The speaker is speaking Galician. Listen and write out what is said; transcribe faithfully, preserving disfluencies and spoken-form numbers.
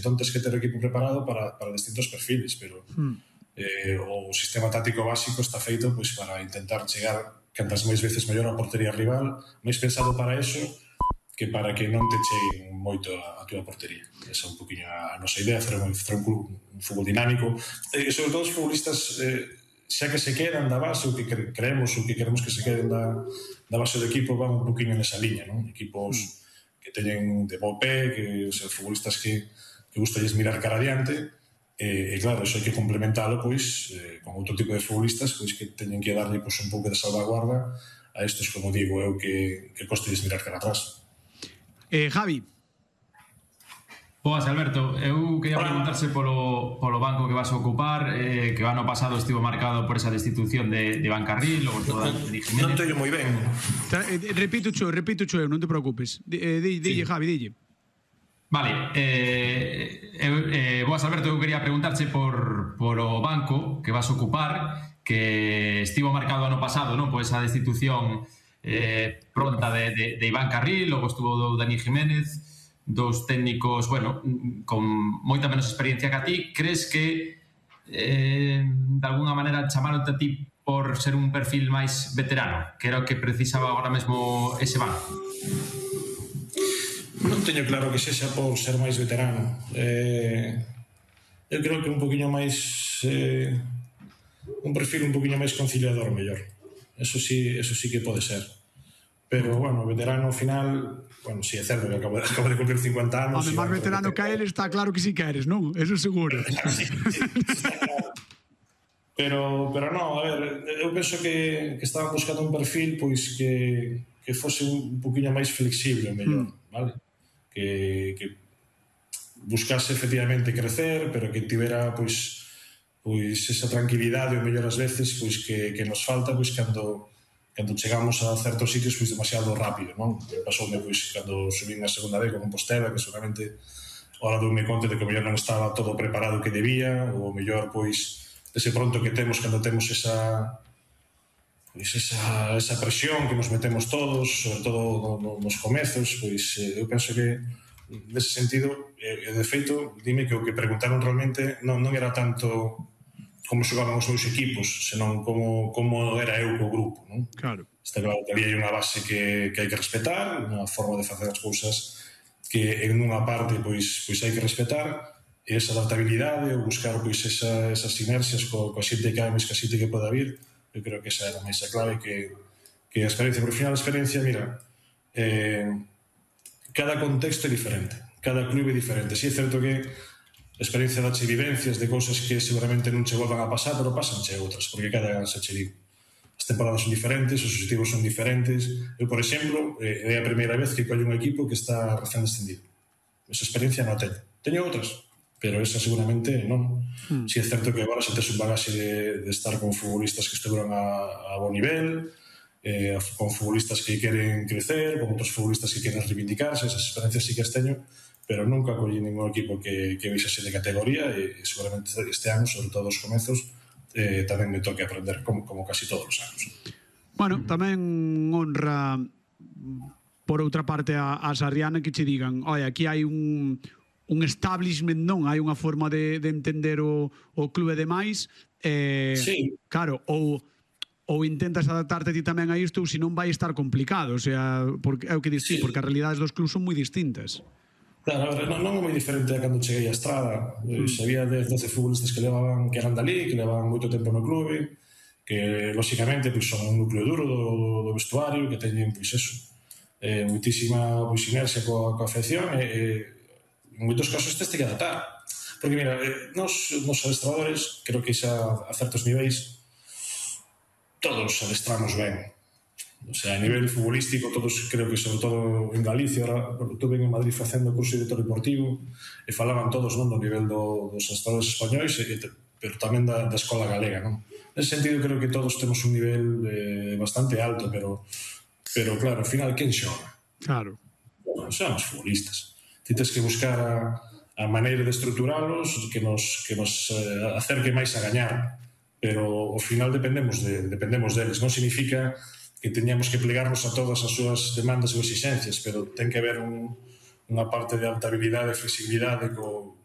entón tens que ter o equipo preparado para, para distintos perfiles, pero mm. eh, o sistema táctico básico está feito pois, para intentar chegar cantas máis veces mellor á portería rival, máis pensado para eso que para que non te cheguen moito a, a túa portería. Esa é un poquinho a nosa idea, facer un, un, un fútbol dinámico, e sobre todo os futbolistas eh, xa que se quedan da base, o que creemos, o que queremos que se queden da, da base do equipo, van un poquinho nesa liña, non? Equipos mm. que teñen de bo pé, que os futbolistas que, que gustalles mirar cara adiante, e, e claro, eso hai que complementalo pois, eh, con outro tipo de futbolistas pois, que teñen que darlle pois, un pouco de salvaguarda a estos, como digo eu, que, que costalles mirar cara atrás. Eh, Javi. Boas, Alberto, eu quería preguntarse polo, polo banco que vas a ocupar, eh, que o ano pasado estivo marcado por esa destitución de, de Iván Carril, logo toda de Jiménez. Non teño moi ben. Repito cho, repito cho eu, non te preocupes. Eh, di, dille, sí. Javi, dille. Vale, eh, eh, boas, Alberto, eu quería preguntarche por, por o banco que vas a ocupar, que estivo marcado ano pasado, non, por esa destitución eh, pronta de, de, de Iván Carril, logo estuvo do Dani Jiménez, dos técnicos, bueno, con moita menos experiencia que a ti. Crees que eh, de alguna maneira chamaronte a ti por ser un perfil máis veterano, que era o que precisaba agora mesmo ese banco? Non teño claro que sexa por ser máis veterano. Eh, eu creo que un poquinho máis eh, un perfil un poquinho máis conciliador mellor. Eso sí, eso sí que pode ser. Pero, bueno, veterano ao final, bueno, si sí, é certo que acabo de, acabo de cumplir cincuenta anos. Home, máis veterano que ele está claro que sí que eres, non? Eso seguro. Sí, sí, está claro. Pero, pero non, a ver, eu penso que, que estaban buscando un perfil pois que, que fose un poquinho máis flexible, mellor, mm. vale? Que, que buscase efectivamente crecer, pero que tivera pois, pois esa tranquilidade ou mellor ás veces pois que, que nos falta pois cando, cando chegamos a certos sitios pois demasiado rápido, non? Pasoume pois cando subín a segunda vez con Compostela, que seguramente ahora doume conta de que o mellor non estaba todo preparado que debía, ou o mellor pois ese pronto que temos cando temos esa pois esa, esa presión que nos metemos todos, sobre todo no, no, nos comezos, pois eh, eu penso que nese sentido, eh, de feito, dime que o que preguntaron realmente non, non era tanto como xogaban os meus equipos, senón como, como era eu co grupo, non? Claro. Está claro que había unha base que, que hai que respetar, unha forma de facer as cousas que en unha parte pois, pois hai que respetar, e esa adaptabilidade, ou buscar pois esa, esas sinerxias co, coa xente que hai, máis que a xente que poda vir. Eu creo que esa era máis a clave que, que a experiencia. Por final, a experiencia, mira, eh, cada contexto é diferente, cada clube é diferente. Si é certo que a experiencia dache vivencias de cousas que seguramente non che volvan a pasar, pero pasanche outras, porque cada se che digo. As temporadas son diferentes, os objetivos son diferentes. Eu, por exemplo, eh, é a primeira vez que collo un equipo que está recén descendido. Esa experiencia non a teño. Teño outras, pero esa seguramente non. Mm. Si é certo que agora xa tes un bagaxe de, de estar con futbolistas que estuveron a, a bo nivel, eh, con futbolistas que queren crecer, con outros futbolistas que queren reivindicarse. Esas experiencias sí que as teño, pero nunca collí ningún equipo que, que vixase de categoría, e, e seguramente este ano, sobre todo os comezos, eh, tamén me toque aprender como, como casi todos os anos. Bueno, tamén honra por outra parte a, a Sarriana que che digan, oi, aquí hai un un establishment, non, hai unha forma de, de entender o, o clube demais, eh, sí. Claro, ou ou intentas adaptarte ti tamén a isto, ou se non vai estar complicado, o sea, porque é o que dis ti, sí. Porque as realidades dos clubs son moi distintas. Claro, a ver, non, non é moi diferente a cando cheguei a Estrada. Mm. Sabía dez, doce futbolistas que levaban, que eran dali, que levaban moito tempo no clube, que, lóxicamente, pois, son un núcleo duro do, do vestuario, que teñen, pois, eso, eh, moitísima pois, inercia coa, coa afección, e eh, en moitos casos teste que adaptar. Porque, mira, eh, nos, nos adestradores, creo que xa a certos niveis, todos adestramos ben. O sea, a nivel futbolístico, todos, creo que sobre todo en Galicia, ahora, estuve en Madrid facendo curso de director deportivo, e falaban todos, non, do nivel do, dos adestradores españois, e, pero tamén da, da escola galega, non? Nese sentido, creo que todos temos un nivel eh, bastante alto, pero, pero claro, ao final, quen xoga? Claro. Bueno, son os futbolistas. Tens que buscar a, a maneira de estructuralos que nos, que nos eh, acerque máis a gañar, pero ao final dependemos, de, dependemos deles. Non significa que teñamos que plegarnos a todas as súas demandas ou exigencias, pero ten que haber un, unha parte de adaptabilidade e flexibilidade co,